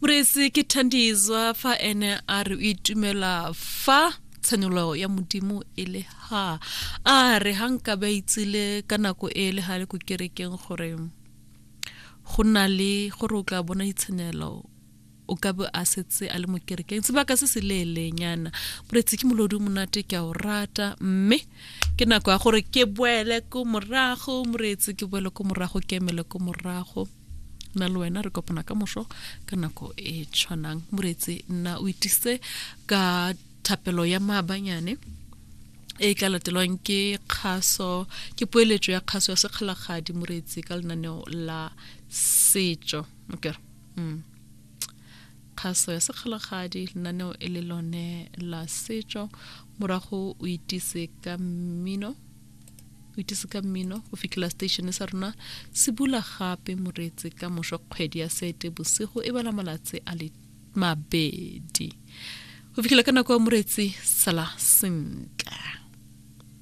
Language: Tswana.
Moreetsi ke Thandizwa fa ene a re o itumela fa tshenolo ya Modimo e le ha. A re ha nka ba itsile ka nako e le ha le ko kerekeng gore go na le gore o tla bona ditshenelo o ka be a setse a le mo kerekeng sebaka se se leelenyana. Moreetsi ke molodi o monate ke a o rata mme ke nako ya gore ke boele ko morago moreetsi ke boele ko morago ke emele ko morago. Nna le wena re kopana ka moso ka nako e tshwanang. Moreetsi nna o itise ka thapelo ya maabanyane e e tla latelwang ke kgaso ke poeletso ya kgaso ya sekgalagadi moreetsi ka lenaneo la setso. Okay. Kgaso ya sekgalagadi lenaneo e le lone la setso morago o itise ka mmino o itise ka mmino go fitlhela station sa rona se bula gape moreetsi ka moso kgwedi ya sete bosigo e bala malatsi a le mabedi go fitlhela ka nako ya moreetsi sala sentle.